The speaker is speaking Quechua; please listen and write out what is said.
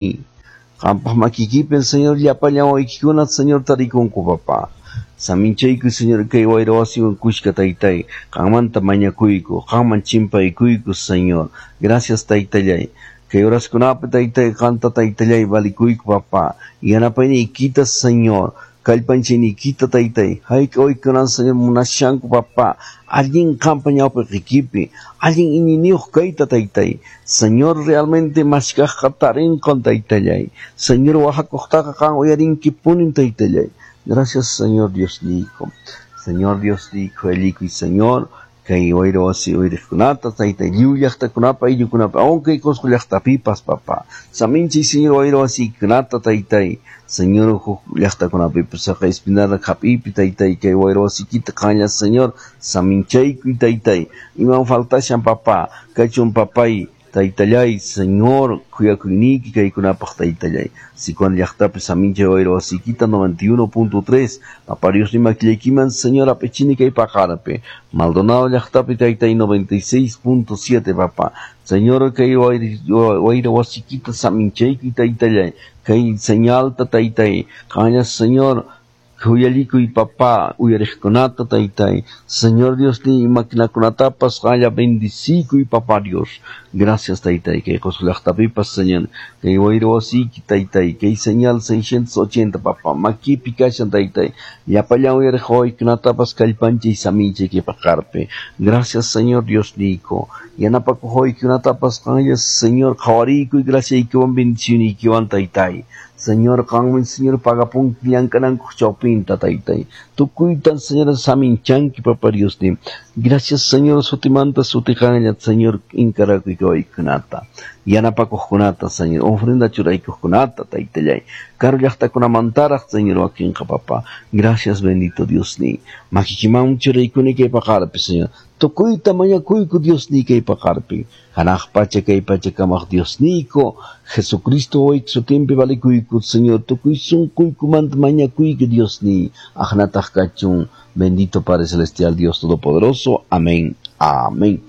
Qampaq makiykipin, Señor, llapallan wawaykikuna, Señor, tarikunku, papá. Saminchayku, Señor, kay wayra wasiwan kushka, taytay. Qanmanta mañakuyku, qanman chimpaykuyku, Señor. Gracias, taytallay. Kay horaskunapi, taytay, qanta, taytallay, valikuyku, papá. Yanapayniykita, Señor. Kallpanchayniykita, taytay. Hayk'a waykunan, Señor, munashanku, papá. Allin qampa ñawpaqikipi, allin iñiyniyuq kayta, taytay. Señor, realmente mashkaqqa tarinqan, taytallay. Señor, wahakuqtaqa qan uyarinkipunin, taytallay. Gracias, Señor Diosniyku. Señor Diosniyku, allikuy, Señor. Kay wayra wasi uyariqkunata, taytay, lliw llaqtakunapa, ayllukunapa, aunque Cusco llaqtapipas, papá. Saminchay, Señor, wayra wasikunata, taytay. Señor, huk llaqtakunapipas, saqay Espinarda hap'iypi, taytay, kay wayra wasikita qanlla, Señor, saminchaykuy, taytay. Iman faltashan, papá, kachun, papay, taytallay, Señor, khuyakuyniyki kaykunapaq, taytallay. Sicuán llaqtapi saminchay wayra wasikita 91.3, papá Dios ni makillaykiman, Señor, ap'ichini kay paqarpi. Maldonado llaqtapi, taytay, 96.7, papá. Señor, kay wayra wasikita saminchaykuy, taytallay. Kay señalta, taytay. Qanlla, Señor, khuyallikuy, papá, uyariqkunata, taytay. Señor Dios ni maquinakunatapas qanlla bendicikuy, papá Dios. Gracias, taytay. Kay Cusco llaqtapipas, Señor. Kay wayra wasiki, taytay. Kay señal 680, papá. Makipi kashan, taytay. Llapallan uyariq wawaykunatapas kallpanchay saminchay kay paqarpi. Gracias, Señor Dios niyku. Yanapakuq wawaykunatapas qanlla, Señor, qhawariykuy, graciaykiwan, bendicioniykiwan, taytay. Señor, qanmi, Señor, pagapunki llank'anankuq chawpinta, taytay. Tukuytan, Señor, saminchanki, papá Dios ni. Gracias, Señor, sutimanta sutiqanlla, Señor, inkarakuy kawaykunata. Yanapakuqkunata, Señor, ofrenda churaykuqkunata, taytallay. Karu llaqtakunamantaraq, Señor, wakinqa, papá. Gracias, bendito Dios ni. Makikiman churaykuni kay paqarpi, Señor. Tukuyta mañakuyku Dios ni kay paqarpi. Hanaq pacha kay pacha kamaq Dios niyku. Jesucristo wayki sutinpi valikuyku, Señor. Tukuy sunquykumanta mañakuyku, Dios ni. Aqnataq kachun. Bendito Padre Celestial, Dios Todopoderoso. Amén. Amén.